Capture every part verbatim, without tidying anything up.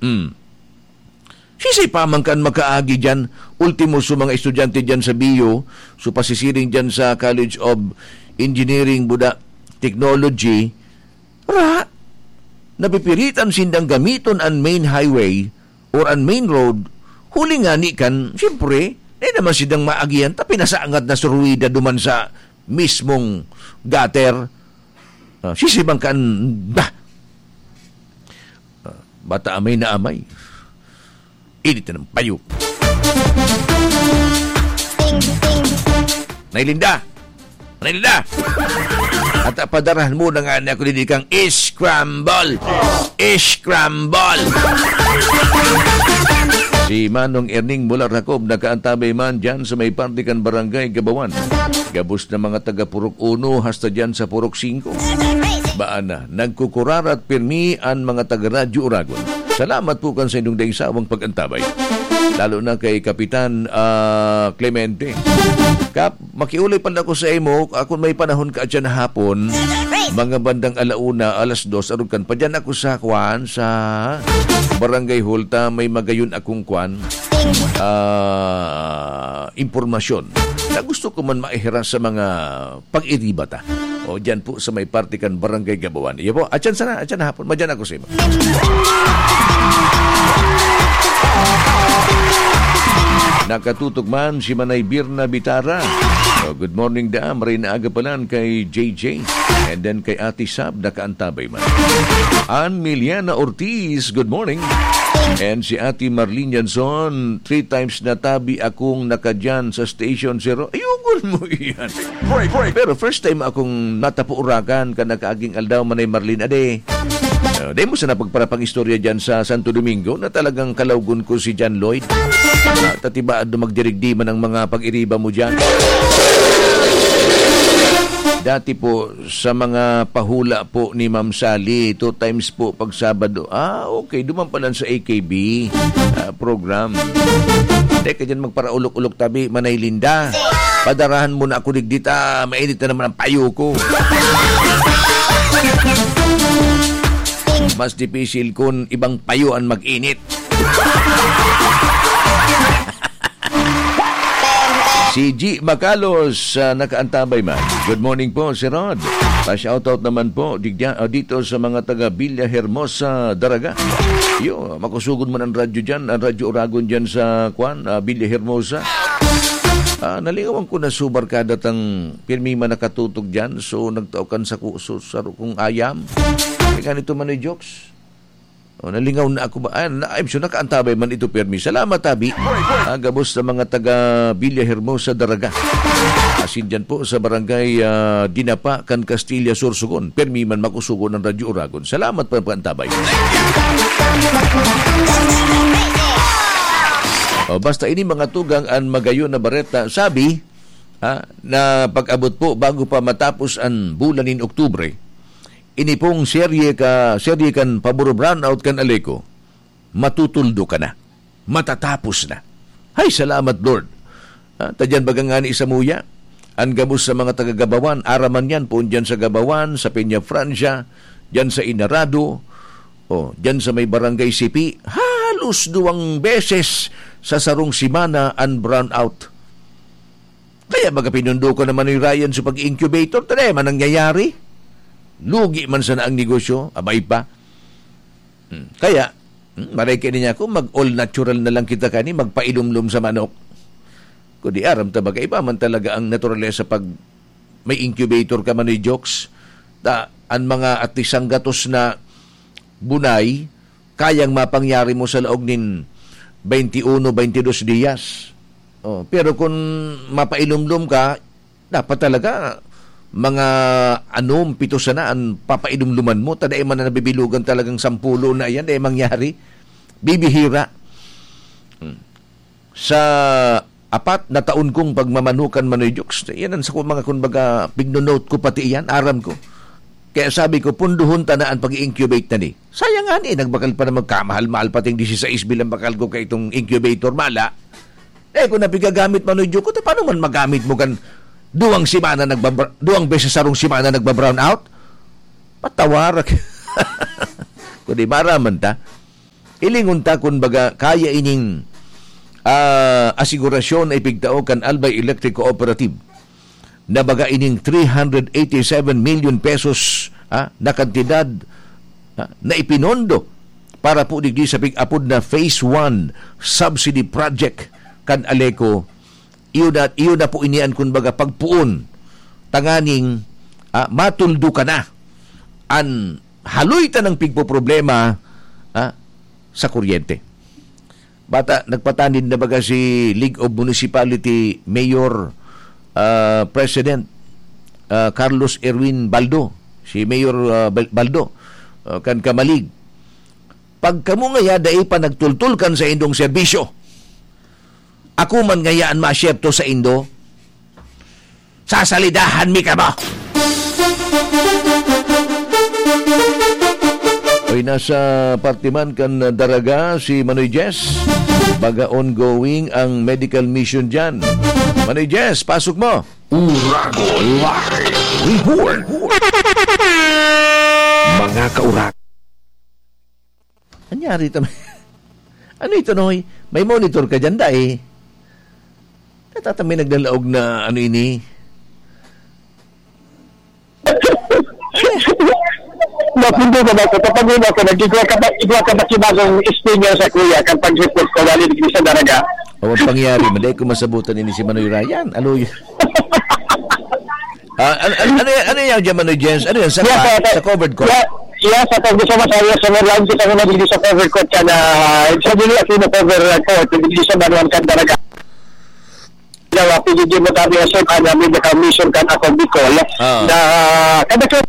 Hmm. Sisay pa man kan makaagi diyan, ultimo sa mga estudyante diyan sa bio, so pasisiring diyan sa College of Engineering, buda, Technology, ra, napipiritan sindang gamiton an main highway or an main road, huli ngani kan, siyempre, di naman sidang maagihan, ta pinasangad na sa ruwida duman sa mismong gutter. Ah, sisay man kan, bah! Ah, bata amay na amay. Init na ng payo. Nay Linda! Nay Linda! At, ah, padarahan mo na nga ni ako didi kang scramble! Scramble! Si Manong Erning mula Racob nakaantabay man dyan sa may parte kan Barangay Gabawan. Gabos na mga taga Purok Uno hasta dyan sa Purok Singko. Baan na, nagkukurarat pirmi an mga taga Radyo Uragon. Salamat po kan sa inyong daing sawang pag-antabay. Lalo na kay Kapitan, ah, Clemente. Kap, makiulay pa ako sa imo, ah, kung may panahon ka dyan hapon, mga bandang alauna, alas dos, arog kan pa dyan ako sa kwan, sa Barangay Hall ta, may magayon akong kwan, ah, impormasyon na gusto ko man maihiras sa mga pag-iriba ta. O, dyan po sa may parte kan Barangay Gabawan. Iyo po, atyan sana, atyan na hapon. Madyan ako sa imo. Nakatutok man si Manay Birna Bitara. O, good morning, da. Maray na aga palan kay J J. And then kay Ate Sab, nakaantabay man. Ann Miliana Ortiz, good morning. And si Ate Marlene Yanson, three times na tabi akong nakadyan sa Station Zero. Ayokon mo iyan. Break, break. Pero first time akong natapo Uragan kan nakaaging aldaw, Manay Marlene, ade. Ah, di mo sana pagparapang istorya dyan sa Santo Domingo na talagang kalawgon ko si John Lloyd. Ah, tatibaad na magdirigdi man ang mga pag-iriba mo dyan. Dati po, sa mga pahula po ni Ma'am Sally, two times po pag Sabado. Ah, okay. Duman pa lang sa A K B, ah, program. Teka dyan, magparaulok-ulok tabi, Manay Linda. Padarahan mo na ako digdi ta, mainit na naman ang payo ko. Mas dipisil kun ibang payo ang mag-init. Si G Macalos, ah, nakaantabay man. Good morning po, Sir Rod. Pa-shoutout naman po digya-, ah, dito sa mga taga Villa Hermosa, Daraga. Yo, makusugod man ang radyo dyan, ang Radyo Uragon dyan sa, kwan, ah, Villa Hermosa. Ah, nalingawan ko na subar kada tang pirmi man nakatutok dyan. So, nagtao kan sa ku-, so, saro kong ayam. Kaya ganito man, eh, jokes. O, nalingaw na ako ba? Ah, na, I'm sure nakaantabay man ito, Permi. Salamat, Abi. Ah, gabos sa mga taga Villa Hermosa, Daraga. Asin dyan po sa barangay, ah, Dinapa, kan Castilla, Sorsogon. Permi man makusugon ang Radyo Uragon. Salamat pa pag-antabay. O, basta ini mga tugang an magayon na bareta. Sabi, ha, na pag-abot po, bago pa matapos an bulan nin Oktubre, ini pong serye ka, serye kan paboro brownout kan Aleco, matutuldo ka na. Matatapos na. Hay, salamat, Lord. Ah, ta diyan baga ngani samuya, an gabos sa mga taga Gabawan, aram man yan, poon diyan sa Gabawan, sa Peñafrancia, diyan sa Inarado, o, diyan sa may Barangay Sipi, halos duwang beses sa sarong semana an brownout. Kaya baga pinundokon na man ni Ryan sa pag-incubator, ta dai man nangyayari. Lugi man sana ang negosyo, abay pa. Hmm. Kaya, hmm, maray kaini niya ako, mag-all natural na lang kita kani, magpailumlom sa manok. Kundi aram ta baga, iba man talaga ang naturalesa pag may incubator ka, Manoy Jokes. Ta, an mga atisang gatos na bunay, kayang mapangyari mo sa laog nin twenty-one, twenty-dos diyas. Oh, pero kung mapailumlom ka, dapat talaga mga anom, pito sana an papailumluman mo, ta dai man na nabibilugan talagang sampulo na iyan, dai mangyari. Bibihira. Hmm. Sa apat na taon kong pagmamanukan, Manoy Jokes, iyan ang sa mga, kumbaga, pigno-note ko pati iyan, aram ko. Kaya sabi ko, punduhon ta na an pag-i-incubate na ni. Sayang nga ni, nagbakal pa naman kamahal-mahal, pating dieciséis mil ang bakal ko kay itong incubator, mala. Eh, kung napigagamit, Manoy Jokes, ta paano man magamit mo kan duwang semana nagbabra-, duwang beses sarong semana nagba-brown out? Patawarak. Kundi maraman ta. Hilingon ta kun baga kaya ining, ah, asigurasyon na ipigtao kan Albay Electric Cooperative na baga ining three hundred eighty seven million pesos, ah, na kantidad, ah, na ipinondo para po digdi sa pig-apod na Phase one Subsidy Project kan ALECO. Iyo na, iyo na po ini an, kun baga, pagpoon tanganing, ah, matuldukan na an haloy tanang pigpoproblema, ah, sa kuryente. Bata, nagpatanid na baga si League of Municipality Mayor, ah, President, ah, Carlos Erwin Baldo, si Mayor, ah, Bal-, Baldo, ah, kan Camalig. Pag kamo ngaya dai pa nagtultol kan saindong serbisyo, ako man ngaya an masyerto saindo, sasalidahan mi kamo. Oy, nasa parte man kan Daraga si Manoy Jess. Baga ongoing ang medical mission dyan. Manoy Jess, pasok mo. Urago Live Report. Mga kaurag. Anyari ito? Ano ito, Noy? May monitor ka dyan, dai? Katata may naglalaog na ano ini? Napundo na ba ako? Kapag yun ako, nag-igwa ka ba, igwa ka ba si bagong Espanyol sa kuya, kan pag-report ko, dali, digdi sa Daraga? Awan pangyari, man, dai ko masabutan ini si Manoy Ryan. Aloy. Ah, ano, ano, ano, ano yan dyan, Manoy Jens? Ano yan? Sa, Yes, pa- sir. sa covered court? Yeah, yeah, sa covered, sa Masaya, sa Merlin, kita ko na dito sa covered court ka na, sa dili ako na covered court, dito sa Banuan Candaraga. Na, P G G mo tabi na, sir, ano, may commission ka na ako, Bicol. Ah. Na, kada ka,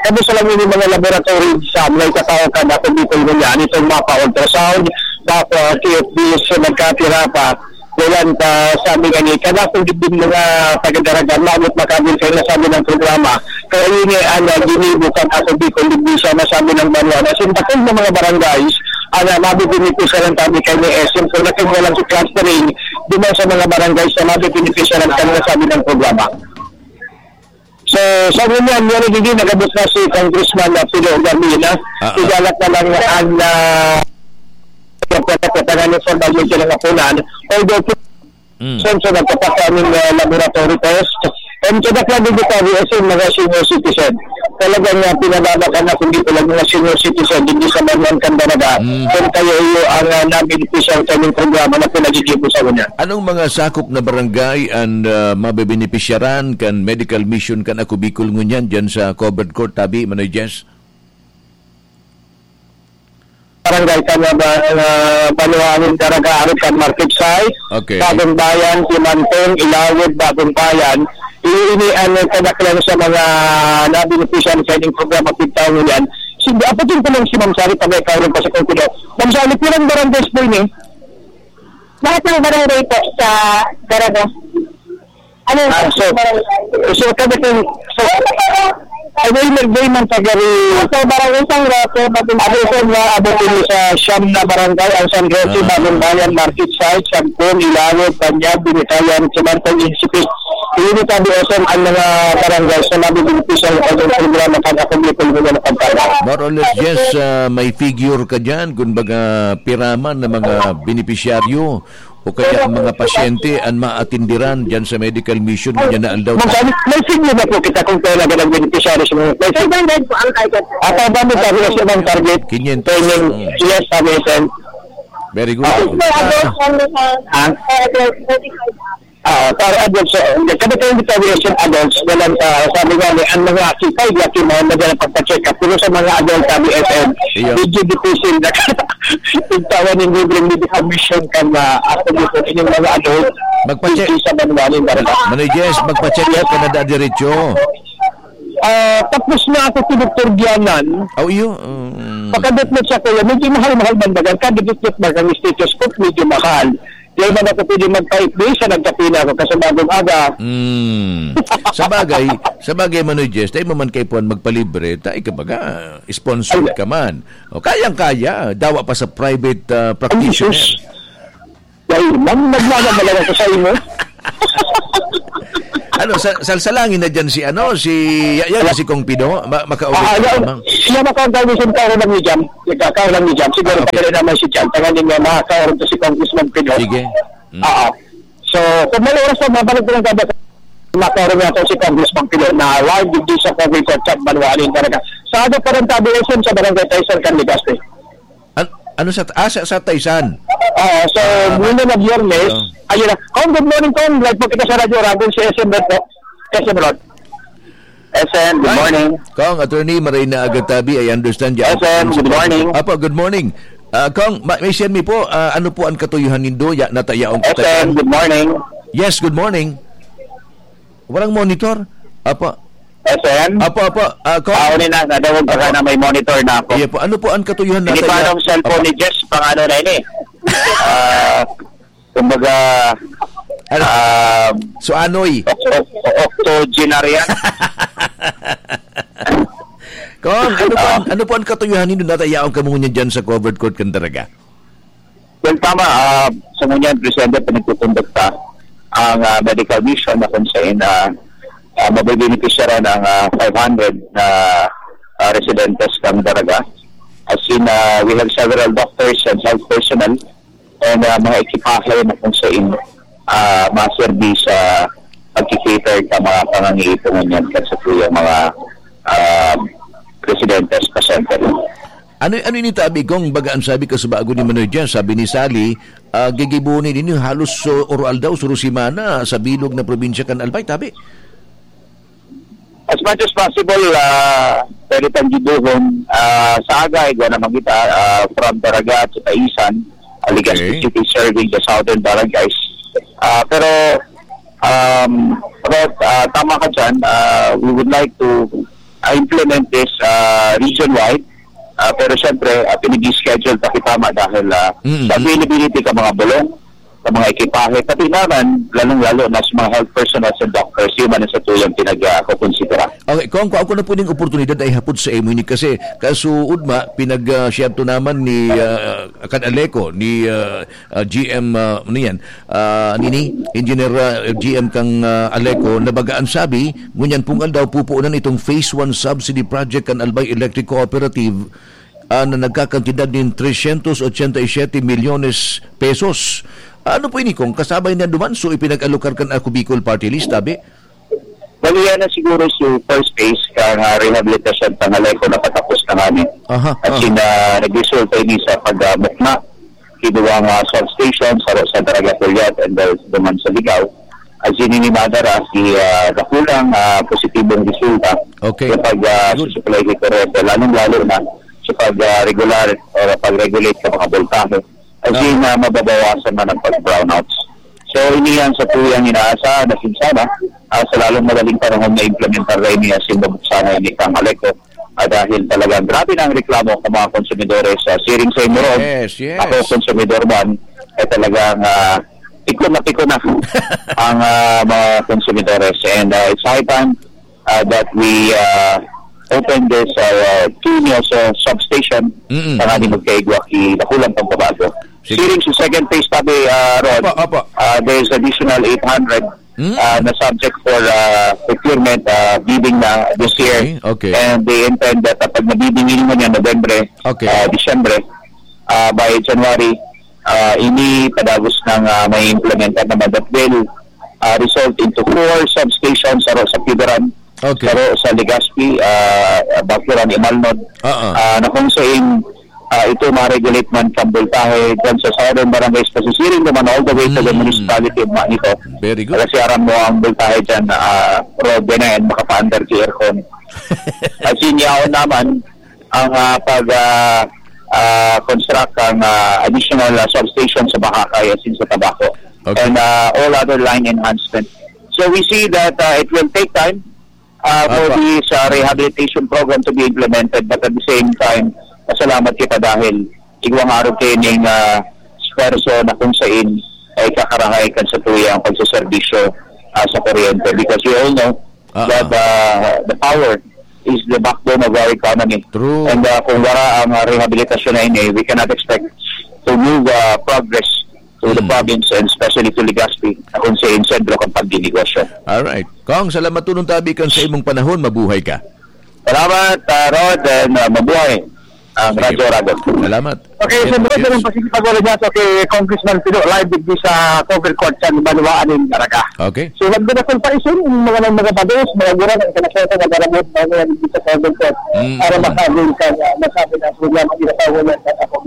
kada sa lang yung mga laboratory sa mga katao ka na ako, Bicol, mo yan, itong mapa ultrasound, mapa T F D, so nagkatira pa. Walang pa, sabi nga ni, kada kung gibin mga taga-Daraga, maabot makabin kayo na sabi ng programa. Kaya yun eh, ano, ginibo kan ako, Bicol, digdi sa masabi ng banwa na sindakol na mga barangays, ana, mabibenepisyaran kami kay ni S M, kung natin walang clustering, di man sa mga barangays na mabibenepisyaran kami na sabi ng programa. So, sa ngunyan, yan, hindi nagabot na si Congressman, ah, Pido Garmina. Ah, ah. Idalat na lang ang, ah, pagkakatangan ng formal media ng Apunan. Although, Mm. Sen, sa nagkapakaning, ah, laboratory test, and kadaklan din ito, as in, mga senior citizen. Talagang, ah, pinababa ka na, kung di ko lang mga senior citizen, hindi sa Banuan Candaraga, Mm. kung kayo iyo ang, ah, nabenepisya sa inyong programa na pinagigibo sa kanya. Anong mga sakop na barangay ang, ah, mabebenepisyaran kan medical mission kan Ako Bicol ngunyan dyan sa covered court, tabi, Manoy Jens? Barangay kan, ah, ba-, ah, Banuangin, Caraga, Arog kan Market Site, Okay. Bagong Bayan, Timantong, Ilawod, Bagong Bayan. Iyo ini ang kadaklan sa mga nabenepisyahan sa ining programa, pigtaw ngunyan. Sige, apotin ko lang si Ma'am Sally, pag may kaulong pa sa Confido. Ma'am Sally, pirang barangays po ini? Lahat ng barangay po sa Daraga. Ano? Ah, so, so, kada kung, so, ay, may nagday man sa gari. Sa Barangay San Roque, Bagong Abot ko na, abot ko sa siyam na barangay, ang San Roque, Ah. Bagong Bayan, Market Site, Sagpon, Ilawod, Panyag, Binitayan, Simantong, Insipit. Ini tabi, S M, ang mga barangay sa mabibenepisyahan sa programa kan Ako Bicol ngunyan na pagkala. More or less, yes, ah, may figure ka dyan, kung baga piraman na mga benepisyaryo o kaya ang mga pasyente ang maatindiran dyan sa medical mission ngunyan na aldaw. Ma'am, sabi, may figure na po kita kung kailan ka nag-beneficiary sa mga, may figure. Five hundred po ang target. At ang dami sabi na siya ng target. Quinientos. Kaya yung, Mm. yes, sabi niya, sir. Very good. Ah. May adult Ah. only, sir. Ah. May adult, thirty-five up. Ah, para adults, so, kada tayo dito, we are adults, walang, ah, sabi nga ni, ang mga sipay, laki mo, madalang pagpa-check up. Pero sa mga adult, sabi, S M, Iyo. medyo difficult na. Yung tawa ng libreng medical mission ka na, ako dito, inyong mga adult, Magpa-check. hindi sa manual yung barangay. Manoy Jess, magpa-check up ka na da diretso. Ah, tapos na ako si Doktor Gianan. Oh, iyo. Mm. Pakadot na siya, kuya. Medyo mahal-mahal man baga. Kada dot-dot baga ang stethoscope, medyo mahal. Di man ako pwede magpaitbi sa nagkapila ako kasi bagong aga. Mm. Sa bagay, sa bagay, Manoy Jess, tayo mo man kay Puan magpalibre, tayo ka baga, sponsored Ay. ka man. O, kayang-kaya, dawa pa sa private, ah, Ay, practitioner. Jesus. Dahil man, nagmamahal ako sa imo. Ano, sa, salsalangin na dyan si, ano, si, ya-, yan, si Kong Pido? Ma-, makaulit Ah, ka yan, lamang. Siya makaon tayo, minsan kaon lang ni Jam. Nagkakaon lang ni Jam. Siguro, Ah, okay. Pwede naman si Jam. Tangan niya, makakaon to si Congressman Pido. Sige. Mm. Ah, ah. So, kung may oras pa, mabalik ko lang kada sa makaroon niya to si Congressman Pido na live digdi sa Congress at Chat Banwali talaga. Sa aga pa ng tabi, S M sa Barangay Taysan, Canlegazpi. An-, ano sa, ah, sa, sa Taysan? Ah, so, Ah, muna na Biyernes, oo. Ayun na. Kong, good morning, Kong. Live po kita sa Radyo Ragon, si S M Rod po. S M Rod. S M, good Hi. Morning. Kong, Attorney Marina Agatabi, I understand you. S M, good morning. Apo, good morning. Ah, Kong, ma-, may send me po, ah, ano po ang katuyuhan nindo? Ya, natayaong S M, katuyuhan? Good morning. Yes, good morning. Walang monitor? Apo. S M? Apo, apo. Ah, Kong? Ah, uli na, nadawag ka Apo. Na may monitor na ako. Iya po. Ano po ang katuyuhan na Hindi pa tayo? Anong cellphone Apo. Ni Jess, pang ano na ini? Ah, kumbaga, Ano? Ah, So, anoy? Oct-, oct-, octogenarian. Kong, ano po ang, Ah. Ano po ang katuyuhan nindo na tayaon kamo ngunyan dyan sa covered court kan Daraga? Well, tama. Ah, sa ngunyan, presente, pinagkukondukta ang, ah, medical mission na kung saan, ah, ah, mabebenepisyaran ang, ah, five hundred na, ah, residentes ng Daraga. As in, ah, we have several doctors and health personnel and, ah, mga ekipahe na kung saan, ah, maserbi sa pagki-cater sa mga pangangaipo ngunyan kan sa tuyang mga, ah, residentes, pasyente. Ano, ano ini tabi, Kong? Baga an sabi ko sa bago ni Manoy Jan, sabi ni Sally, ah, gigibohon ninyo halos, so, oro aldaw, suro semana sa bilog na probinsya kan Albay, tabi? As much as possible, ah, pwede tang gibohon, ah, sa aga, igwa naman kita, ah, from Daraga to Taisan, ah, Legazpi Okay. City, serving the southern barangays. Ah, pero, um, Rod, ah, tama ka dyan, ah, we would like to, ah, implement this, ah, region-wide. Ah, pero siyempre, ah, pinag-schedule pa kita ma dahil, ah, Mm-mm. Sa availability ka mga bulong, sa mga ekipahe, pati naman, lalong-lalo na sa mga health personnel and doctors, yun man ang sa tuyang pinag-, ah, kukonsidera. Okay, Kong, kung ako na po ning oportunidad ay hapot sa imo ini kasi kasuod ma, pinag, ah, siyento naman ni, ah, kan Aleco, ni, ah, ah, G M, ah, ano yan, ah, nini, Engineer, ah, G M kang, ah, Aleco, na baga an sabi, ngunyan pong aldaw pupuunan itong Phase one Subsidy Project kan Albay Electric Cooperative, ah, na nagkakantidad nin trescientos ochenta y siete milyones pesos. Ano po ini, Kong? Kasabay na duman, so ipinag-alokar kan Ako Bicol Party List, tabi? Bali, yan na siguro si first phase kan, ah, rehabilitasyon kan Aleco na patapos na ngani. Aha, At aha. Sin, ah, nagresulta ini sa pagmukna, kinuha nga substation sa, sa Daraga Curiat and the, duman sa Ligao. At sin ini madara si, ah, dakulang, ah, positibong resulta Okay. Sa pag, ah, Good. Susupply ni kuryente, lalong-lalo na sa pag, ah, regular o pag-regulate sa mga voltahe. As in, Ah. ah, mababawasan man ang pag-brownouts. So, ini yan sa tuyang inaasahan na sinsana, ah, sa lalong madaling panahon na implementar na ini as in mabuksan na ini kang Aleco. Ah, dahil talagang grabe na ang reklamo ng mga konsumidores sa siring sa Imorog. Yes, yes. Ako, konsumidor man, eh talagang, ah, piko na piko na ang, ah, mga konsumidores. And, ah, it's high time, ah, that we, ah, open this, ah, two new, ah, substation Mm-mm. Para di magkaigwa ki dakulang pagbabago. Sige. Siring sa second phase, tabi, ah, Rod, Opo, opo. ah, there's additional eight hundred, Mm. ah, na subject for, ah, procurement, ah, bidding na this Okay, year. Okay. And they intend that, ah, pag nabibing ini man yan, November, Okay. ah, Disyembre, ah, by January, ah, ini padagos nang, ah, may implementar naman that will, ah, result into four substations sa, sa Piberan, Okay. Saro sa Legazpi, ah, Bacuran, Imalnod, Oo. ah, na kung saan, ah, ito ma-regulate man sa voltahe dyan sa Southern Barangays, pasisiring naman all the way to the Mm. Municipality of Manito. Very good. Kasi aram mo ang voltahe dyan, ah, road na yan, makapa-under the aircon. As in, yaon naman ang, ah, pag, ah, ah, construct ang, ah, additional, ah, substation sa Bahakay, as in sa Tabaco. Okay. And, ah, all other line enhancement. So we see that, ah, it will take time ah, for Apa. this, ah, rehabilitation program to be implemented. But at the same time, pasalamat kita dahil igwang araw kaining, ah, esfuerzo na kung saan ay kakarahay kan sa tuyang pagsaserbisyo, ah, sa kuryente. Because we all know Ah, that, ah. ah, the power is the backbone of our economy. True. And, ah, kung wala ang, ah, rehabilitasyon na ini, we cannot expect to move, ah, progress to the Hmm. province and especially to Legazpi, na kung sa sentro kan pagdinegosyo. Alright. Kong, salamat tunon tabi kan sa imong panahon. Mabuhay ka. Salamat, ah, Rod, and, ah, mabuhay ang Sige. Radyo Oragon. Salamat. Okay, Yes, siyempre, yes. Ganun pa, sige, pag-ulit niya, so, kay Congressman Pido, live digdi sa Cover Court sa Banwaan in Daraga. Okay. So, wag na kung paisin, yung mga, mga bados, mga gurang, ang kanaseta, mga garabot, mga, mga digdi sa Cover Court, Mm. para makagul ka, ah, masabi na, so, yan, ang ginagawa niya sa ako.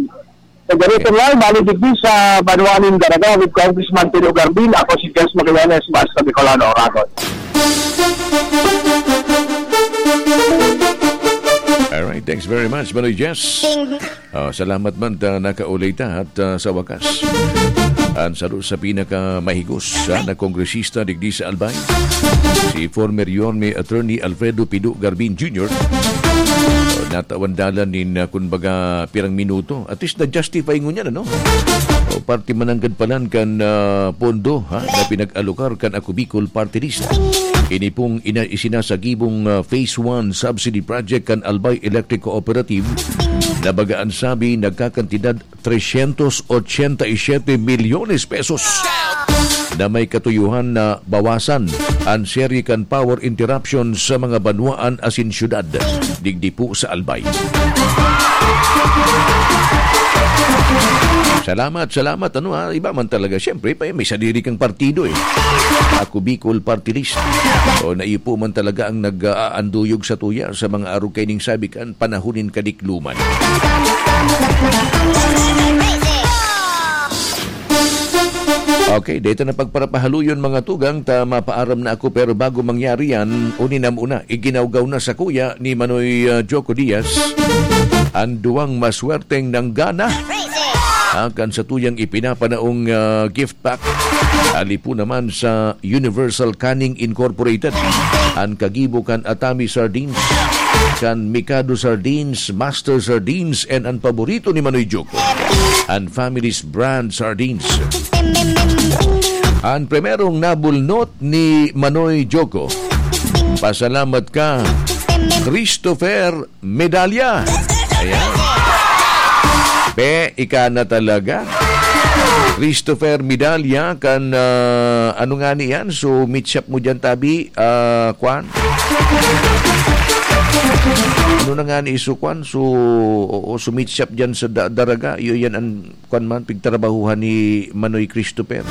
So, ganito lang, bali digdi sa Banwaan in Daraga with Congressman Pido Garbin. Ako si Jens Magallanes, Basta Bicolano, Oragon. Alright, thanks very much, Manoy Jess. Ting. Ah, salamat man ta nakaulay ta at, ah, sa wakas, an saro sa pinakamahigos, ah, na kongresista digdi sa Albay, si former Yorme Attorney Alfredo Pido Garbin Junior. Oh, natawan dalan nin, ah, kun baga, pirang minuto. At least na-justify ngunyan, ano? O, parte mananggad palan kan, ah, pondo, ha, na pinag-alokar kan Ako Bicol Party List. Ini pong ina-, isinasagibong, ah, Phase one Subsidy Project kan Albay Electric Cooperative na baga an sabi nagkakantidad trescientos ochenta y siete milyones pesos na may katuyuhan na bawasan an serye kan power interruption sa mga banwaan asin syudad digdi po sa Albay. Salamat, salamat. Ano, ha, iba man talaga. Siyempre, pa-, may sadiri kang partido, eh. Ako Bicol Party List. O, na iyo po man talaga ang nag-aanduyog sa tuya sa mga arog kaining sabi kan panahon nin kadikluman. Okay, dito na pagparapahaluyon, mga tugang, ta mapaaram na ako, pero bago mangyari yan, uni na muna, iginawgaw na sakuya ni Manoy, ah, Joko Diaz an duwang maswerteng nanggana. Ah, kan sa tuyang ipinapanaong, ah, gift pack. Ali po naman sa Universal Canning Incorporated. An kagibo kan Atami Sardines, kan Mikado Sardines, Master Sardines, and an paborito ni Manoy Joko, an Family's Brand Sardines. An primerong nabulnot ni Manoy Joko. Pasalamat ka, Christopher Medalla. Ayan. Pe, ika na talaga. Christopher Medalla kan, ah, ano nga ni yan? So, meat shop mo dyan, tabi, ah, kwan? Ano na nga ni iso, kwan? So, oo, so meat shop dyan sa Da-, Daraga. Iyo yan ang, kwan man, pigtrabahuhan ni Manoy Christopher.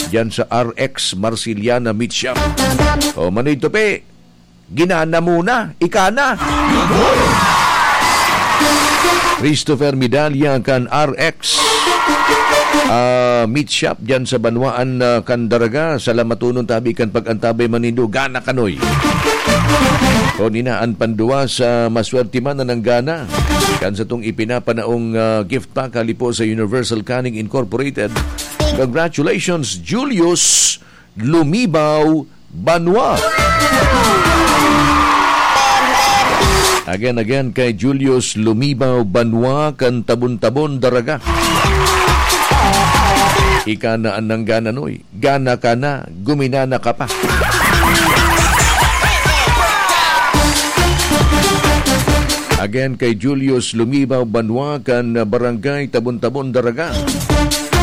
Dyan sa R X Marciliana Meat Shop. O, Manoy Tope, ginana mo na, ika na. Christopher Medalla kan R X, ah, meat shop dyan sa banwaan, ah, kan Daraga. Salamatonon tabi kan pag-antabay man nindo. Gana kanoy. O nina, an panduwa sa maswerte man na nanggana kan satong ipinapanaong, ah, gift pack hali po sa Universal Canning Incorporated. Congratulations, Julius Lumibaw Banwa. Again, again, kay Julius Lumibaw Banwa kan Tabon-Tabon, Daraga. Ika na an nanggana, noy. Gana ka na, guminana ka pa. Again, kay Julius Lumibaw Banwa kan Barangay Tabon-Tabon, Daraga.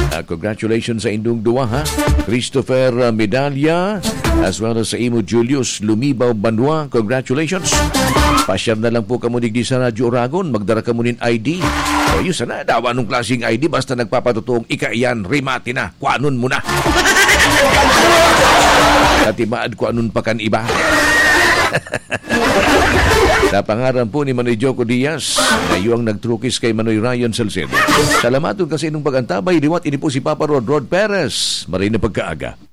Ah, congratulations sa indong duwa, ha? Christopher, ah, Medalla, as well as sa imo, Julius Lumibaw Banwa. Congratulations. Pa-share na lang po kamo digdi sa Radyo Oragon. Magdara kamo nin I D. O, yun sana, dawa anong klaseng I D. Basta nagpapatotoong ika iyan, rimate na. Kuanon mo na. Katibaad kuanon pa kan iba. Sa pangaran po ni Manoy Joko Diaz, na iyo ang nagtrukis kay Manoy Ryan Salcedo. Salamaton ka sa inyong pag-antabay. Liwat ini po si Papa Rod, Rod Perez. Maray na pagkaaga.